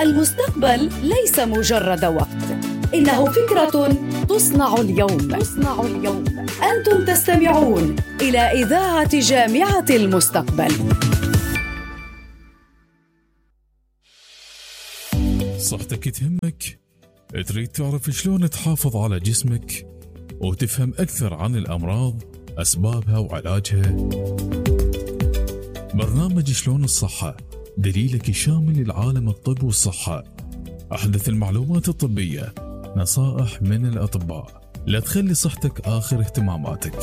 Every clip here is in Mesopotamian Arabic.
المستقبل ليس مجرد وقت، إنه فكرة تصنع اليوم. أنتم تستمعون إلى إذاعة جامعة المستقبل. صحتك تهمك؟ تريد تعرف شلون تحافظ على جسمك وتفهم أكثر عن الأمراض، أسبابها وعلاجها؟ برنامج شلون الصحة دليلك الشامل لعالم الطب والصحة، أحدث المعلومات الطبية، نصائح من الأطباء، لا تخلي صحتك آخر اهتماماتك.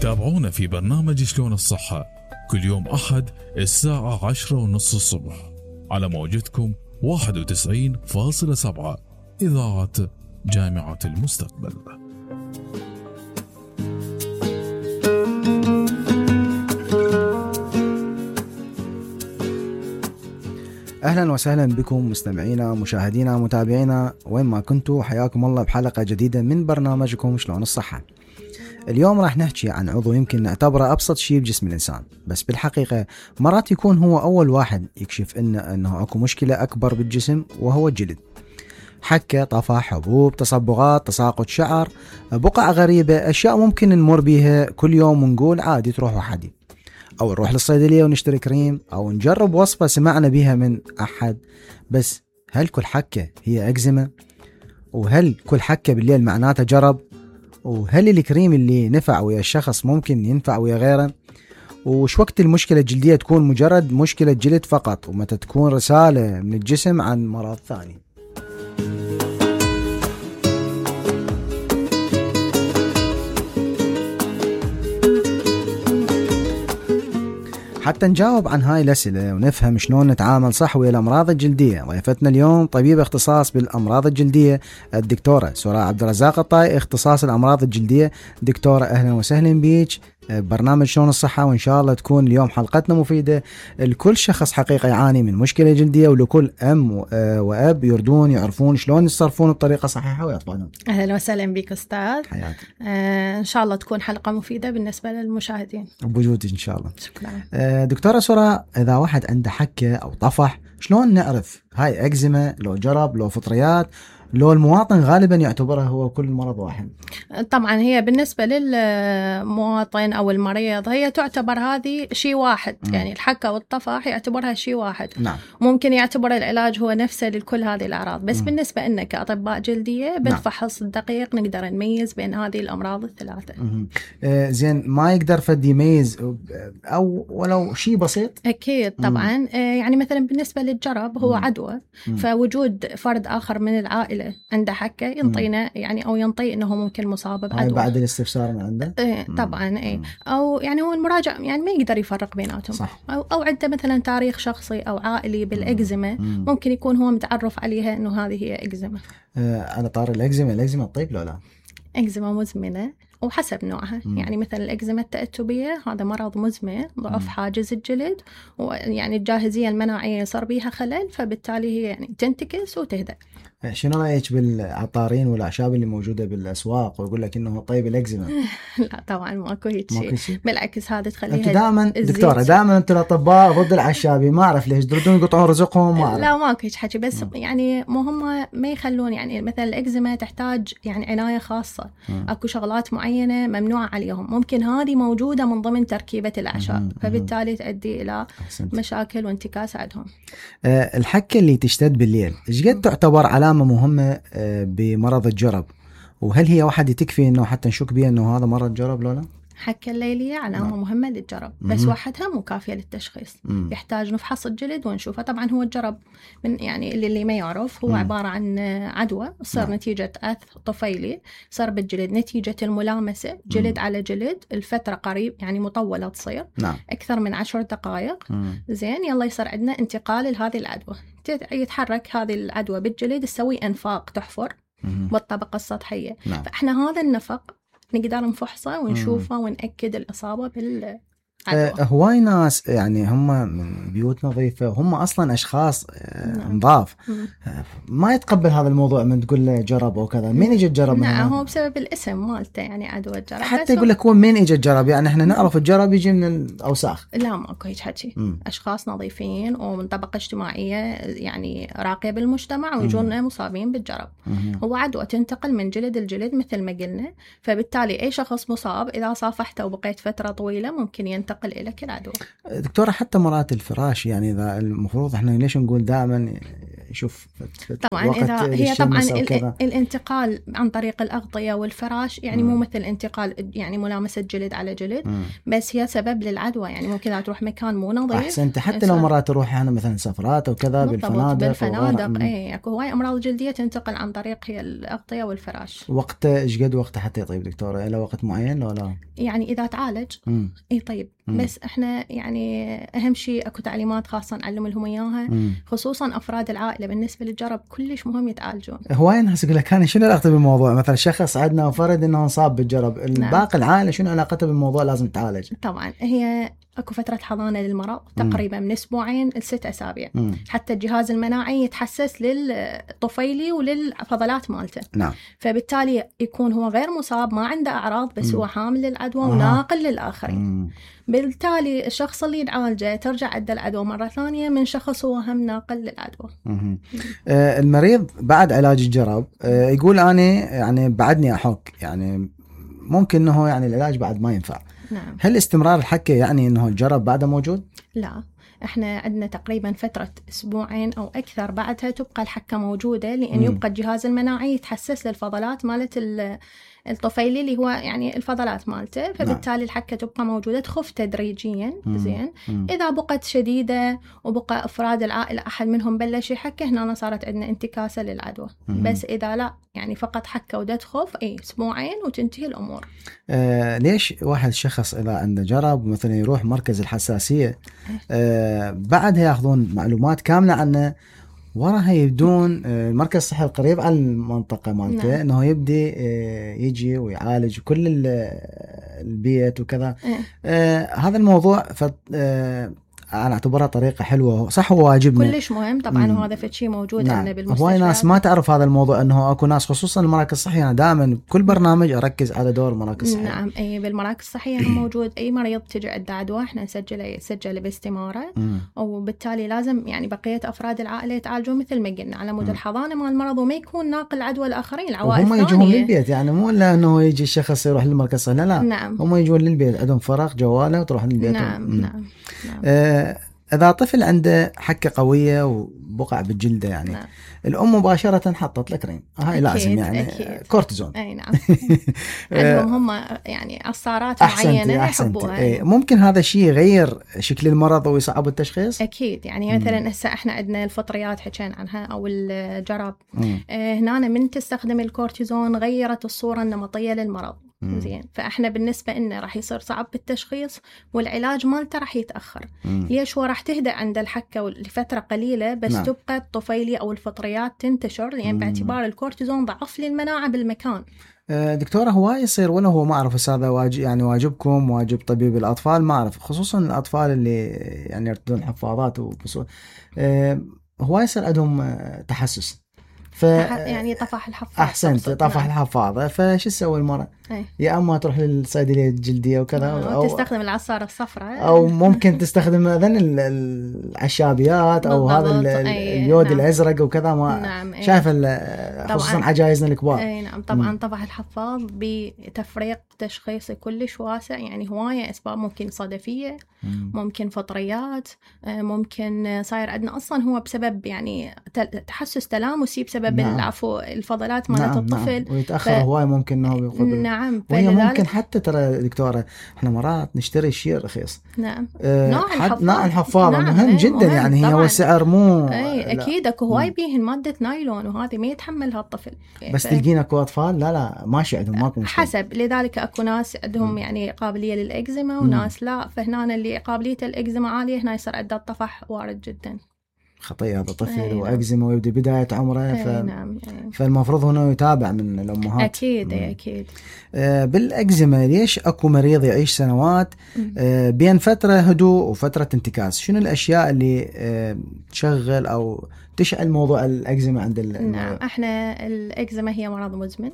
تابعونا في برنامج شلون الصحة كل يوم أحد الساعة 10:30 الصبح على موجتكم 91.7 إذاعة جامعة المستقبل. أهلا وسهلا بكم مستمعينا مشاهدينا متابعينا وين ما كنتوا، حياكم الله بحلقة جديدة من برنامجكم شلون الصحة. اليوم راح نحكي عن عضو يمكن نعتبره أبسط شيء بجسم الإنسان، بس بالحقيقة مرات يكون هو أول واحد يكشف إنه أكو مشكلة أكبر بالجسم، وهو الجلد. حكة، طفح، حبوب، تصبغات، تساقط شعر، بقع غريبة، أشياء ممكن نمر بيها كل يوم ونقول عادي تروح وحدي، أو نروح للصيدلية ونشتري كريم، أو نجرب وصفة سمعنا بيها من أحد. بس هل كل حكة هي أكزيما؟ وهل كل حكة بالليل معناتها جرب؟ وهل الكريم اللي نفع ويا الشخص ممكن ينفع ويا غيره؟ وش وقت المشكلة الجلدية تكون مجرد مشكلة جلد فقط، ومتى تكون رسالة من الجسم عن مرض ثاني؟ حتى نجاوب عن هاي الأسئلة ونفهم شلون نتعامل صح ويا الأمراض الجلدية، ضيفتنا اليوم طبيبة اختصاص بالأمراض الجلدية الدكتورة سراء عبد الرزاق الطائي، اختصاص الأمراض الجلدية. دكتورة أهلا وسهلا بيك برنامج شلون الصحة، وإن شاء الله تكون اليوم حلقتنا مفيدة لكل شخص حقيقة يعاني من مشكلة جلدية، ولكل أم وأب يردون يعرفون شلون يتصرفون بطريقة صحيحة ويطلعون. أهلا وسهلا بك أستاذ. حياتي. إن شاء الله تكون حلقة مفيدة بالنسبة للمشاهدين بوجودك إن شاء الله. شكرا. دكتورة سراء، إذا واحد عنده حكة أو طفح شلون نعرف هاي أكزيما؟ لو جرب، لو فطريات، لو المواطن غالبا يعتبرها هو كل مرض واحد؟ طبعا هي بالنسبة للمواطن أو المريض هي تعتبر هذه شيء واحد. يعني الحكة والطفح يعتبرها شيء واحد. نعم. ممكن يعتبر العلاج هو نفسه لكل هذه الأعراض، بس بالنسبة لنا كأطباء جلدية بالفحص الدقيق نقدر نميز بين هذه الأمراض الثلاثة. زين، ما يقدر فد يميز أو ولو شيء بسيط؟ أكيد طبعا. يعني مثلا بالنسبة للجرب هو عدوى، فوجود فرد آخر من العائلة عنده حكة ينطينا يعني أو ينطي إنه ممكن مصاب بعدوى بعد الاستفسار من عنده. طبعا أو يعني هو المراجع يعني ما يقدر يفرق بيناتهم. صح. أو عنده مثلا تاريخ شخصي أو عائلي بالإكزيما، ممكن يكون هو متعرف عليها إنه هذه هي إكزيما. على طار الإكزيما تطيب لو لا؟ إكزيما مزمنة وحسب نوعها. يعني مثلا الإكزيما التأتبية هذا مرض مزمن، ضعف حاجز الجلد، ويعني الجاهزية المناعية صار بيها خلل، فبالتالي هي يعني تنتكس وتهدأ. شنو رأيك بالعطارين والأعشاب اللي موجودة بالأسواق ويقول لك إنه طيب الإكزيما؟ لا طبعا ماكو هيك شيء، بالعكس هذا تخليها. أنتوا دائما دكتورة، دائما أنتوا الأطباء ضد الأعشابي، ما أعرف ليش تردون يقطعون رزقهم، ما أعرف. لا ماكو هيك حكي، بس يعني مو هم ما يخلون. يعني مثلا الإكزيما تحتاج يعني عناية خاصة، أكو شغلات معينة ممنوعة عليهم، ممكن هذه موجودة من ضمن تركيبة الأعشاب، فبالتالي تؤدي إلى مشاكل وانتكاس عندهم. الحكة اللي تشتد بالليل إيش قد تعتبر علامة مهمة بمرض الجرب؟ وهل هي واحدة تكفي إنه حتى نشك بها إنه هذا مرض جرب لو لا؟ حكة الليلية علامة مهمة للجرب، بس وحدها مو كافية للتشخيص. يحتاج نفحص الجلد ونشوفه. طبعا هو الجرب من يعني اللي ما يعرف هو عبارة عن عدوى صار نتيجة أث طفيلي صار بالجلد نتيجة الملامسة جلد على جلد الفترة قريب يعني مطولة تصير أكثر من 10 دقائق. زين، يلا يصير عندنا انتقال لهذه العدوى، يتحرك هذه العدوى بالجلد تسوي أنفاق تحفر بالطبقة السطحية. فإحنا هذا النفق نقدر نفحصه ونشوفه ونأكد الإصابة هواي ناس يعني هم من بيوت نظيفة، هم أصلا أشخاص نظاف، ما يتقبل هذا الموضوع من تقول له جرب أو كذا. مين يجي تجرب؟ نعم، هو بسبب الاسم مالته يعني عدوى الجرب. حتى يقول لك هو مين يجي تجرب، يعني احنا نعرف الجرب يجي من الأوساخ. لا، ماكو هيك حكي. أشخاص نظيفين ومن طبقة اجتماعية يعني راقية بالمجتمع ويجونا مصابين بالجرب. هو عدوى تنتقل من جلد الجلد مثل ما قلنا، فبالتالي أي شخص مصاب إذا صافحته وبقيت فترة طويلة ممكن ينتقل إليك العدوى. دكتورة، حتى مرات الفراش يعني إذا المفروض احنا ليش نقول دائما شوف طبعا إذا هي طبعا الانتقال عن طريق الأغطية والفراش يعني مو مثل انتقال يعني ملامسة جلد على جلد، بس هي سبب للعدوى. يعني ممكن إذا تروح مكان مو نظيف. أحسنت. حتى لو مرات تروح هنا مثلا سفرات أو كذا بالفنادق إيه، أكو هواي أمراض جلدية تنتقل عن طريق هي الأغطية والفراش. وقت إيش قد وقت حتى يطيب دكتورة؟ إلى وقت معين ولا؟ يعني إذا تعالج إيه طيب. بس إحنا يعني أهم شيء أكو تعليمات خاصة نعلم لهم إياها، خصوصا أفراد العائلة. بالنسبة للجرب كلش مهم يتعالجون. هواي ناس يقول لك أنا شنو علاقته بالموضوع؟ مثلا شخص عندنا وفرد إنه انصاب بالجرب، الباقي العائلة شنو علاقته بالموضوع؟ لازم تعالج. طبعا هي أكو فترة حضانة للمرض تقريبا من 2 ل6 أسابيع، حتى الجهاز المناعي يتحسس للطفيلي وللفضلات مالته. نعم. فبالتالي يكون هو غير مصاب، ما عنده أعراض، بس هو حامل للعدوى وناقل للآخرين. بالتالي الشخص اللي يعالجه ترجع عنده العدوى مرة ثانية من شخص هو هم ناقل للعدوى. المريض بعد علاج الجرب يقول أنا يعني بعدني أحك، يعني ممكن إنه يعني العلاج بعد ما ينفع. نعم. هل استمرار الحكة يعني إنه الجرب بعده موجود؟ لا، احنا عندنا تقريبا فترة 2 أو أكثر بعدها تبقى الحكة موجودة، لأن يبقى الجهاز المناعي يتحسس للفضلات مالت الطفيلي اللي هو يعني الفضلات مالته، فبالتالي الحكة تبقى موجودة، تخف تدريجيا. زين. إذا بقت شديدة وبقى أفراد العائلة أحد منهم بلش يحكه، هنا صارت عندنا انتكاسة للعدوى. بس إذا لا يعني فقط حكة ودا تخف 2 وتنتهي الأمور. ليش واحد شخص إذا عنده جرب مثلا يروح مركز الحساسية بعدها يأخذون معلومات كاملة عنه، وراها يبدون المركز الصحي القريب على المنطقة مالته انه يبدي يجي ويعالج كل البيت وكذا. هذا الموضوع أنا أعتبرها طريقة حلوة، صح، هو واجبنا كلش مهم طبعا، وهذا فشي موجود عندنا بالمستشفى. هواي ناس ما تعرف هذا الموضوع، أنه أكو ناس خصوصا المراكز الصحية. أنا دائما كل برنامج أركز على دور المراكز الصحية. نعم، أي بالمراكز الصحية موجود. أي مريض تجي عنده عدوى احنا نسجله باستمارة، وبالتالي لازم يعني بقية أفراد العائلة يتعالجون مثل ما قلنا على مود الحضانة مع المرض، وما يكون ناقل عدوى الآخرين العوائل الثانية. هم يجون للبيت، يعني مو إلا أنه يجي الشخص يروح للمركز الصحي، لا. نعم. هم يجون للبيت، عندهم فرق جواله وتروح للبيت. نعم. إذا طفل عنده حكة قوية وبقع بالجلدة يعني الأم مباشرة حطت له كريم، هاي لازم يعني أكيد. كورتيزون. أي نعم. عندهم هم يعني عصارات معينة يحبوها. ممكن هذا الشيء يغير شكل المرض ويصعب التشخيص؟ أكيد. يعني مثلا هسه احنا عندنا الفطريات حكينا عنها أو الجرب، هنا من تستخدم الكورتيزون غيرت الصورة النمطية للمرض. زين. فاحنا بالنسبه لنا راح يصير صعب بالتشخيص والعلاج مالته راح يتاخر. ليش؟ هو راح تهدأ عند الحكه لفتره قليله، بس تبقى الطفيلي او الفطريات تنتشر، لان باعتبار الكورتيزون ضعف للمناعه بالمكان. دكتورة، هو يصير ولا هو ما أعرف هذا واجب، يعني واجبكم واجب طبيب الأطفال، ما أعرف، خصوصا الأطفال اللي يعني يرتدون حفاضات هو يصير عندهم تحسس يعني طفح الحفاضة. أحسنت، طفح الحفاضة. فش تسوي المرأة؟ يا أما تروح للصيدلية الجلدية وكذا، أو تستخدم العصارة الصفراء، أو ممكن تستخدم العشابيات أو هذا اليود الأزرق وكذا. ما شايف خصوصا عجائزنا الكبار. نعم طبعا. طفح الحفاض بتفريق تشخيصي كلش واسع، يعني هواية أسباب، ممكن صدفية، ممكن فطريات، ممكن صاير عندنا أصلا هو بسبب يعني تحسس تلامسي بسبب العفو الفضلات مالت الطفل. ويتأخر هواي ممكن إنه ياخذ. نعم. وهي ممكن حتى ترى دكتورة احنا مرات نشتري شيء رخيص. نعم. نوع الحفاضة مهم جدا، يعني هي والسعر مو. أكيد أكو هواي بيهن مادة نايلون، وهذه ما يتحملها الطفل. بس تلقين أكو أطفال لا ماشي عندهم، ماكو مشكلة. حسب، لذلك أكو ناس عندهم يعني قابلية للإكزيما وناس لا، فهنا اللي قابلية الإكزيما عالية هنا يصير عنده الطفح وارد جدا. خطية هذا طفل نعم. وأكزيما ويبدأ بداية عمره نعم. فالمفروض هنا يتابع من الأمهات. أكيد أكيد. بالأكزيما ليش أكو مريض يعيش سنوات بين فترة هدوء وفترة انتكاس؟ شنو الأشياء اللي تشغل أو تشعل موضوع الأكزيما عند نعم، احنا الأكزيما هي مرض مزمن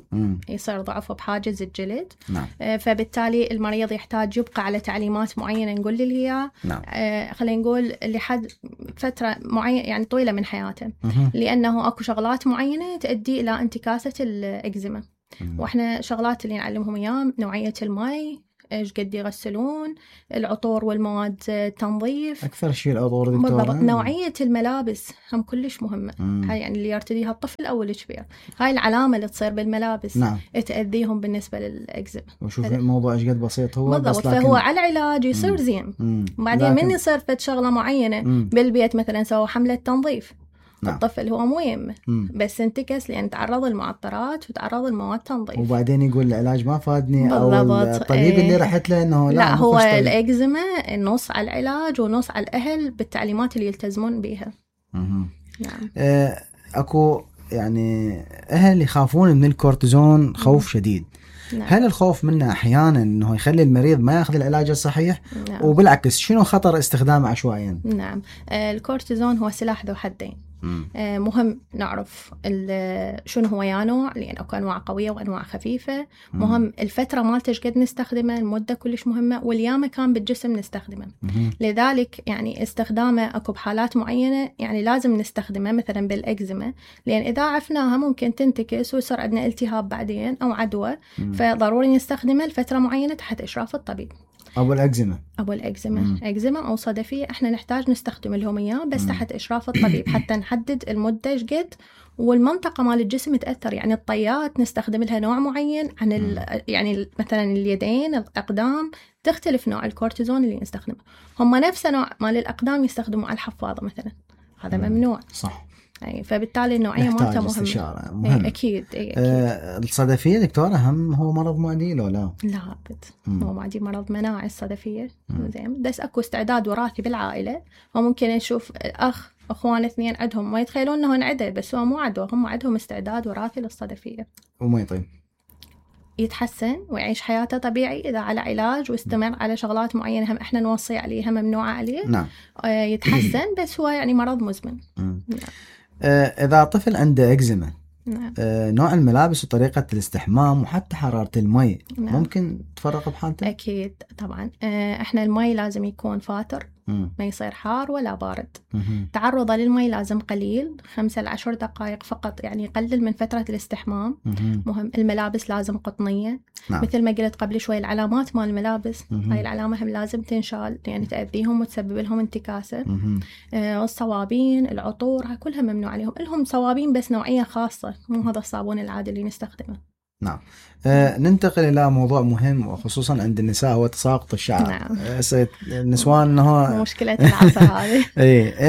يصير ضعفه بحاجز الجلد. نعم. فبالتالي المريض يحتاج يبقى على تعليمات معينة نقول له هي نعم. خلينا نقول لحد فترة معينة يعني طويلة من حياته، لأنه أكو شغلات معينة تؤدي إلى انتكاسة الأكزيما. وإحنا شغلات اللي نعلمهم إياه نوعية الماء، إيش قد يغسلون، العطور والمواد التنظيف. أكثر شيء العطور دكتورة. نوعية الملابس هم كلش مهمة. هاي يعني اللي يرتديها الطفل أو الكبير، هاي العلامة اللي تصير بالملابس. نعم. تأذيهم بالنسبة للأكزيما. وشوف الموضوع إيش قد بسيط هو بالضبط. فهو على العلاج يصير زين. بعدين من يصير فد شغلة معينة بالبيت مثلا سووا حملة تنظيف. نعم. الطفل هو مو يمه بس انتكس لأن تعرض المعطرات وتعرض المواد تنظيف، وبعدين يقول العلاج ما فادني أو الطبيب اللي رحت له إنه لا هو الأكزيما نص على العلاج ونص على الأهل بالتعليمات اللي يلتزمون بها. نعم. أكو يعني أهل يخافون من الكورتيزون خوف شديد. نعم. هل الخوف منه أحيانا أنه يخلي المريض ما يأخذ العلاج الصحيح؟ نعم. وبالعكس شنو خطر استخدامه عشوائيا؟ نعم. الكورتيزون هو سلاح ذو حدين. مهم نعرف شنو هو يا نوع، لأن أكو أنواع قوية وأنواع خفيفة. مهم الفترة مالته قد نستخدمه، المدة كلش مهمة، واليا كان بالجسم نستخدمه. لذلك يعني استخدامه أكو بحالات معينة يعني لازم نستخدمه مثلا بالأكزيما، لأن إذا عفناها ممكن تنتكس ويصير عندنا التهاب بعدين أو عدوى. فضروري نستخدمه لفترة معينة تحت إشراف الطبيب. أبو الأكزيما أكزيما أو صدفية إحنا نحتاج نستخدم لهم إياه بس تحت إشراف الطبيب حتى نحدد المدة إيش قد والمنطقة مال الجسم تأثر. يعني الطيات نستخدم لها نوع معين عن يعني مثلا اليدين الأقدام تختلف نوع الكورتيزون اللي نستخدمه. هم نفس نوع مال الأقدام يستخدموا على الحفاضة مثلا، هذا ممنوع. صح. فبالتالي النوعية مالته مهمة. أكيد. الصدفية دكتورة هم هو مرض معدي لو لا؟ لا أبد. هو معدي مرض مناعي الصدفية. زين بس أكو استعداد وراثي بالعائلة، وممكن نشوف أخوان اثنين عندهم ما يتخيلون أنه نعده بس هو مو عدوى، هم عندهم استعداد وراثي للصدفية. وما يطيب يتحسن ويعيش حياته طبيعي إذا على علاج واستمر على شغلات معينة هم إحنا نوصي عليها ممنوعة عليه. نعم. يتحسن بس هو يعني مرض مزمن. نعم. إذا طفل عنده إكزيما، نعم. نوع الملابس وطريقة الاستحمام وحتى حرارة المي نعم. ممكن تفرق بحالته؟ أكيد طبعا. إحنا المي لازم يكون فاتر، ما يصير حار ولا بارد. تعرضه للمي لازم قليل 5 ل 10 دقائق فقط، يعني يقلل من فترة الاستحمام. مهم الملابس لازم قطنية. نعم. مثل ما قلت قبل شوي العلامات مال الملابس هاي العلامة هم لازم تنشال يعني تأذيهم وتسبب لهم انتكاسة. الصوابين العطور هاي كلها ممنوع عليهم. لهم صوابين بس نوعية خاصة، مو هذا الصابون العادي اللي نستخدمه. نعم. ننتقل إلى موضوع مهم وخصوصا عند النساء هو تساقط الشعر. نعم. النسوان إنه مشكلة العصر هذه.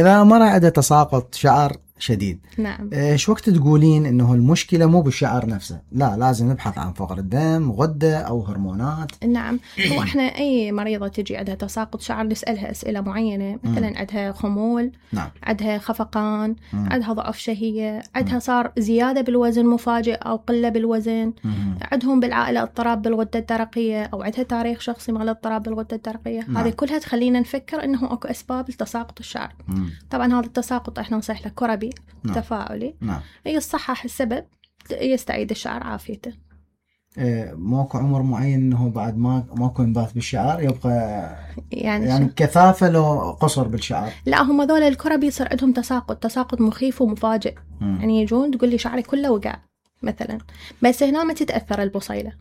إذا مرة عنده تساقط شعر شديد، نعم. شو وقت تقولين إنه المشكلة مو بالشعر نفسه، لا لازم نبحث عن فقر الدم، غدة أو هرمونات؟ نعم. هو إحنا أي مريضة تجي عندها تساقط شعر نسألها أسئلة معينة، مثلا عندها خمول. نعم. عندها خفقان. عندها ضعف شهية. عندها صار زيادة بالوزن مفاجئ أو قلة بالوزن. عندهم بالعائلة اضطراب بالغدة الدرقية أو عندها تاريخ شخصي مع اضطراب بالغدة الدرقية. هذه كلها تخلينا نفكر إنه أكو أسباب لتساقط الشعر. طبعا هذا التساقط إحنا نصيح له كربي. نعم. تفاعلي. نعم. يصحح السبب يستعيد الشعر عافيته. ماكو عمر معين انه بعد ماكو انبات بالشعر يبقى يعني كثافه لو قصر بالشعر؟ لا هم ذول الكربي يصير عندهم تساقط مخيف ومفاجئ. يعني يجون تقول لي شعري كله وقع مثلا، بس هنا ما تتاثر البصيله.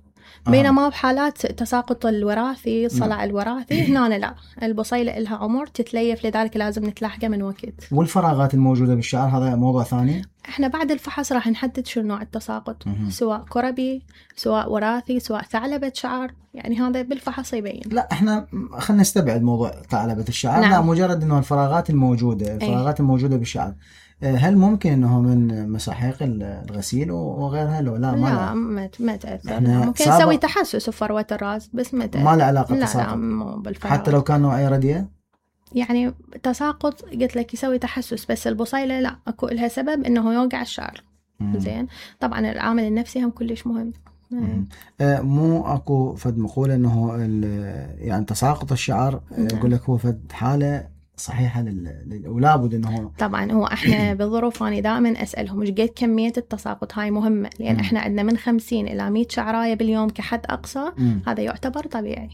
بينما بحالات تساقط الوراثي صلع الوراثي هنا لا، البصيلة لها عمر تتليف، لذلك لازم نتلاحقه من وقت. والفراغات الموجودة بالشعر هذا موضوع ثاني. احنا بعد الفحص راح نحدد شو نوع التساقط، سواء كربي سواء وراثي سواء ثعلبة شعر، يعني هذا بالفحص يبين. لا احنا خلينا نستبعد موضوع ثعلبة الشعر. نعم. لا مجرد انه الفراغات الموجودة بالشعر، هل ممكن انه من مساحيق الغسيل وغيرها لو لا؟ ما تأثر. ممكن نسوي تحسس في فروة الراس بس ما له علاقة بالتساقط. لا مو بالفراغ. حتى لو كان نوعية رديئة؟ يعني تساقط قلت لك يسوي تحسس، بس البصيلة لا اكو لها سبب انه يوقع الشعر. زين طبعا العامل النفسي هم كلش مهم. مو اكو فد مقولة انه يعني تساقط الشعر يقول لك هو فد حالة صحيحة ولا بد انه طبعا هو احنا بالظروف اني دائما اسالهم ايش قد كمية التساقط، هاي مهمة لان احنا عندنا من 50 الى 100 شعراية باليوم كحد اقصى. هذا يعتبر طبيعي.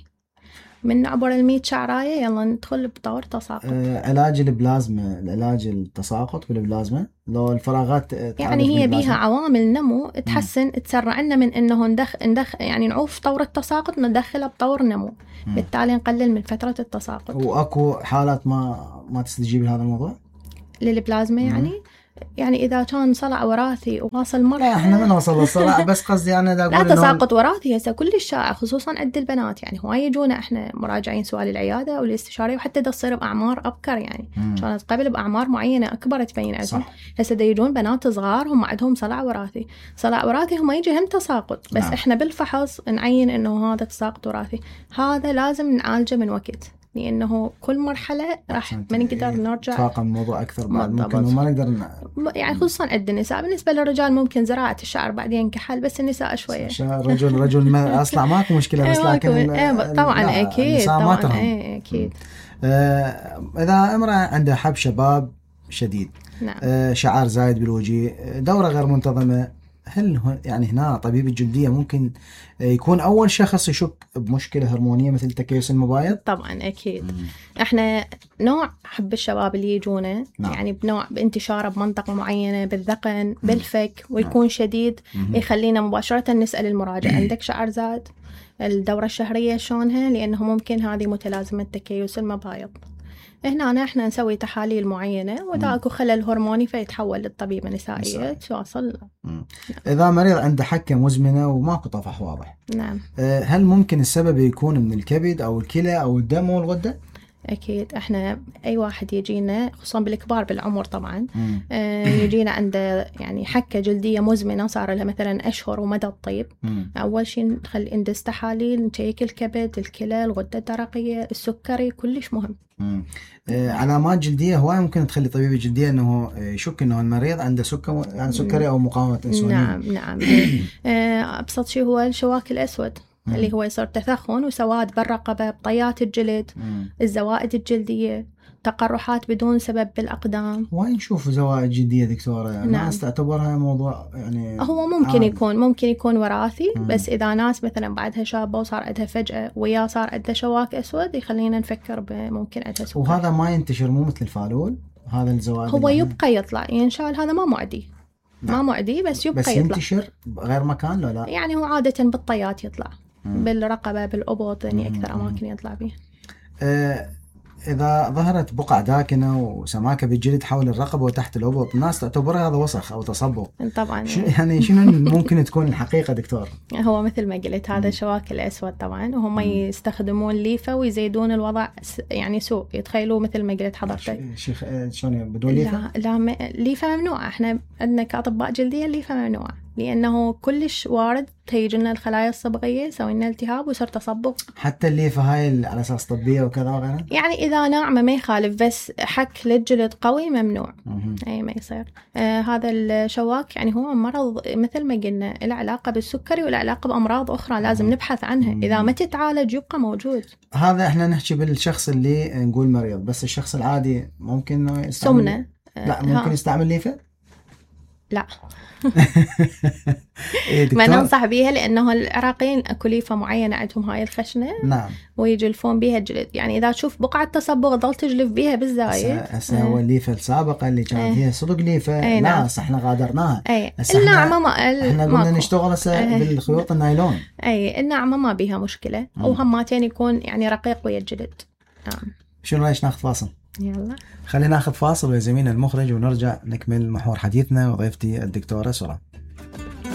من نعبر 100 شعراية يلا ندخل بطور تساقط. علاج البلازما، العلاج التساقط بالبلازما لو الفراغات يعني هي بيها عوامل نمو تحسن تسرع لنا من انه ندخل يعني نعوف طور التساقط ندخله بطور نمو. بالتالي نقلل من فترة التساقط. واكو حالات ما تستجيب لهذا الموضوع للبلازما يعني إذا كان صلع وراثي وواصل مرحلة. لا احنا ما نوصل للصلع بس قصدي أنا لا تساقط وراثي هسه كل الشائع خصوصا عند البنات، يعني هواي يجونا احنا مراجعين سؤال العيادة والاستشارية وحتى تصير بأعمار أبكر، يعني كانت قبل بأعمار معينة أكبر تبين عندهم. هسه يجون بنات صغار هم عندهم صلع وراثي. صلع وراثي هم يجي هم تساقط بس احنا بالفحص نعين إنه هذا تساقط وراثي. هذا لازم نعالجه من وقت لأنه كل مرحلة راح ما نقدر نرجع تفاقم الموضوع أكثر بعد ممكن وما نقدر يعني خصوصا عند النساء. بالنسبة للرجال ممكن زراعة الشعر بعدين كحل، بس النساء شوية رجل ما أصلع ماكو مشكلة بس لكن طبعا أكيد طبعا أكيد. إذا امرأة عندها حب شباب شديد شعر زايد بالوجه دورة غير منتظمة، هل يعني هنا طبيب الجلدية ممكن يكون أول شخص يشك بمشكلة هرمونية مثل تكيس المبايض؟ طبعا أكيد. احنا نوع حب الشباب اللي يجونه يعني بنوع بانتشاره بمنطقة معينة بالذقن بالفك ويكون شديد يخلينا مباشرة نسأل المراجع عندك شعر زاد؟ الدورة الشهرية شلونها؟ لأنه ممكن هذه متلازمة تكيس المبايض. هنا احنا نسوي تحاليل معينة وإذا اكو خلل هرموني فيتحول للطبيبة النسائية تواصل. إذا مريض عنده حكة مزمنة وماكو طفح واضح، نعم، هل ممكن السبب يكون من الكبد أو الكلى أو الدم أو الغدة؟ أكيد. احنا أي واحد يجينا خصوصا بالكبار بالعمر طبعا يجينا عنده يعني حكة جلدية مزمنة صار لها مثلا أشهر ومدى الطيب. أول شيء نخلي ندز تحاليل نشيك الكبد الكلى الغدة الدرقية السكري كلش مهم. علامات جلدية هواي ممكن تخلي طبيب الجلدية انه يشك انه المريض عنده سكري او مقاومة انسولين. نعم ابسط شيء هو الشواك الاسود اللي هو يصير تثخن وسواد بالرقبة بطيات الجلد الزوائد الجلدية تقرحات بدون سبب بالأقدام. وين نشوف زوائد جلدية دكتورة؟ يعني الناس تعتبرها موضوع يعني هو ممكن يكون وراثي بس إذا ناس مثلا بعدها شابة وصار عندها فجأة ويا صار عندها شواك أسود يخلينا نفكر بممكن عندها سكر. وهذا ما ينتشر مو مثل الفالول هذا الزوائد هو يبقى يطلع ينشال هذا ما معدي. ما معدي بس يبقى بس ينتشر بغير مكان لا يعني هو عادة بالطيات يطلع بالرقبة بالأبط يعني أكثر أماكن يطلع بيه. إذا ظهرت بقع داكنة وسماكة بالجلد حول الرقبة وتحت الأبط الناس تعتبرها هذا وسخ أو تصبغ طبعا. يعني شنو ممكن تكون الحقيقة دكتور؟ هو مثل ما قلت هذا الشواك الأسود طبعا وهم يستخدمون ليفة ويزيدون الوضع يعني سوء يتخيلوا مثل ما قلت حضرتك. شيخ شلون بدون ليفة؟ لا ليفة ممنوعة. احنا عندنا كأطباء جلدية الليفة ممنوعة لأنه كلش وارد تيجي لنا الخلايا الصبغية يسوي لنا التهاب ويصير تصبغ. حتى الليفة هاي على أساس طبية وكذا وغيرها؟ يعني إذا ناعمة ما يخالف بس حك للجلد قوي ممنوع. أي ما يصير. هذا الشواك يعني هو مرض مثل ما قلنا له علاقة بالسكري وله علاقة بأمراض أخرى لازم نبحث عنها. إذا ما تتعالج يبقى موجود. هذا إحنا نحكي بالشخص اللي نقول مريض، بس الشخص العادي ممكن يستعمل سمنة. لا ممكن يستعمل ليفة؟ لا إيه ما ننصح بيها لأنه العراقيين أكو ليفة معينة عندهم هاي الخشنة. نعم. ويجلفون بيها الجلد يعني إذا تشوف بقعة تصبغ ضل تجلف بيها بالزايد. هسه هو الليفة السابقة اللي كان فيها صدق ليفة لا هسه احنا غادرناها. النعمة احنا قلنا نشتغل هسه بالخيوط النايلون. النعمة ما بيها مشكلة وهماتين يكون يعني رقيق ويا الجلد. شنو رايك ناخذ فاصل؟ يلا خلينا ناخذ فاصل ويا زميلنا المخرج ونرجع نكمل محور حديثنا وضيفتي الدكتورة سرى.